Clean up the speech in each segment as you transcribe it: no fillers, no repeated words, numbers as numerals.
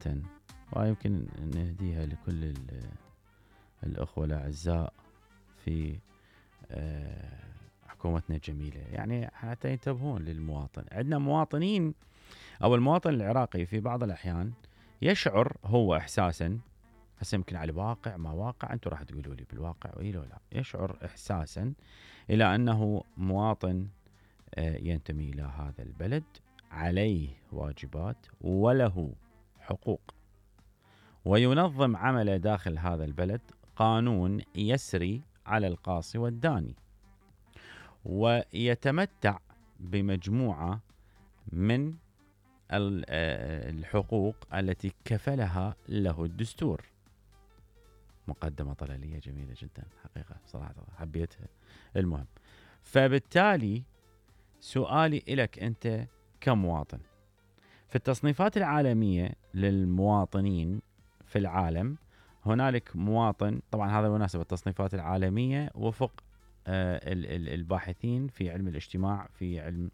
جدا، ويمكن نهديها لكل الأخوة الأعزاء في حكومتنا الجميلة، يعني حتى ينتبهون للمواطن. عندنا مواطنين أو المواطن العراقي في بعض الأحيان يشعر هو إحساسا، هسه يمكن على واقع ما واقع، أنتم راح تقولوا لي بالواقع وإيه لو لا، يشعر إحساسا إلى أنه مواطن ينتمي إلى هذا البلد، عليه واجبات وله حقوق، وينظم عمله داخل هذا البلد قانون يسري على القاصي والداني، ويتمتع بمجموعة من الحقوق التي كفلها له الدستور. مقدمة طلالية جميلة جدا حقيقة، صراحة حبيتها. المهم، فبالتالي سؤالي إلك أنت كمواطن، في التصنيفات العالمية للمواطنين في العالم هنالك مواطن، طبعا هذا مناسب التصنيفات العالمية وفق الباحثين في علم الاجتماع، في علم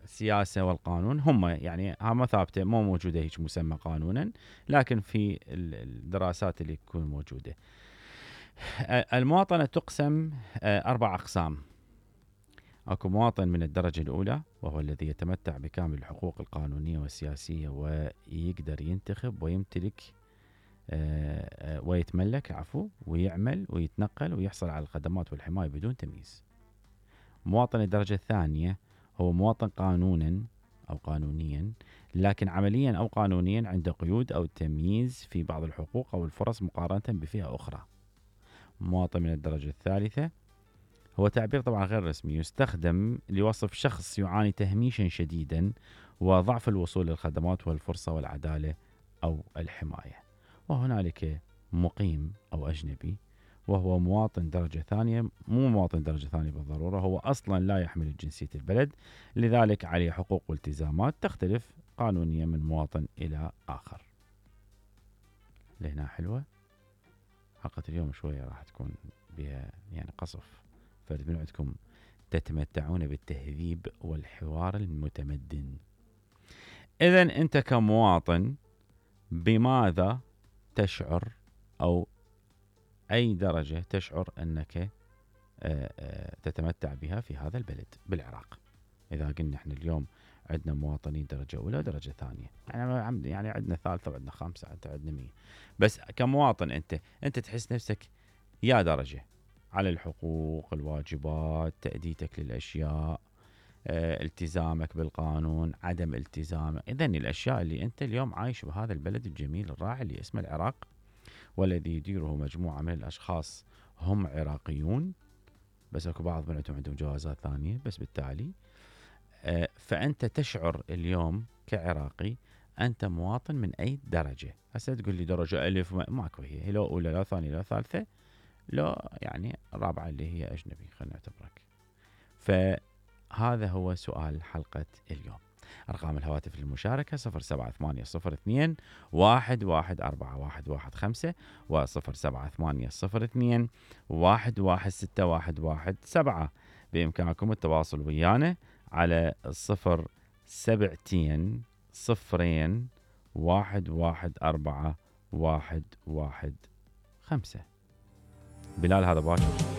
السياسة والقانون، هم يعني ما ثابتة، مو موجودة هيك مسمى قانونا، لكن في الدراسات اللي تكون موجودة. المواطنة تقسم 4 أقسام. أكو مواطن من الدرجة الأولى، وهو الذي يتمتع بكامل الحقوق القانونية والسياسية، ويقدر ينتخب ويمتلك ويتملك ويعمل ويتنقل ويحصل على الخدمات والحماية بدون تمييز. مواطن الدرجة الثانية هو مواطن قانونا أو قانونيا، لكن عمليا أو قانونيا عنده قيود أو تمييز في بعض الحقوق أو الفرص مقارنة بفئة أخرى. مواطن من الدرجة الثالثة هو تعبير طبعا غير رسمي، يستخدم لوصف شخص يعاني تهميشا شديدا وضعف الوصول للخدمات والفرصة والعدالة أو الحماية. وهنالك مقيم أو أجنبي، وهو مواطن درجة ثانية، مو مواطن درجة ثانية بالضرورة، هو أصلا لا يحمل جنسية البلد، لذلك عليه حقوق والتزامات تختلف قانونيا من مواطن إلى آخر. لهنا حلوة، حلقة اليوم شوية راح تكون بها يعني قصف، فرد من عندكم تتمتعون بالتهذيب والحوار المتمدن. إذن أنت كمواطن بماذا تشعر، أو أي درجة تشعر أنك تتمتع بها في هذا البلد بالعراق؟ إذا قلنا إحنا اليوم عندنا مواطنين درجة أولى ودرجة ثانية، يعني عندنا ثالثة وعندنا خامسة، عندنا 100، بس كمواطن أنت تحس نفسك يا درجة على الحقوق، الواجبات، تأديتك للأشياء، التزامك بالقانون، عدم التزامك. إذن الأشياء اللي أنت اليوم عايش بهذا البلد الجميل الراعي اللي اسمه العراق، والذي يديره مجموعة من الأشخاص هم عراقيون، بس أكو بعض من عندهم جوازات ثانية، بس بالتالي فأنت تشعر اليوم كعراقي أنت مواطن من أي درجة. هسه تقول لي درجة ألف، ماكو، هي لو أولى لا ثانية لا ثالثة، لو يعني الرابعة اللي هي أجنبي خلينا نعتبرك. فهذا هو سؤال حلقة اليوم. أرقام الهواتف للمشاركة 07802 114115 و07802 116117. بإمكانكم التواصل ويانا على 072 0 114 115. بلال هذا باكر.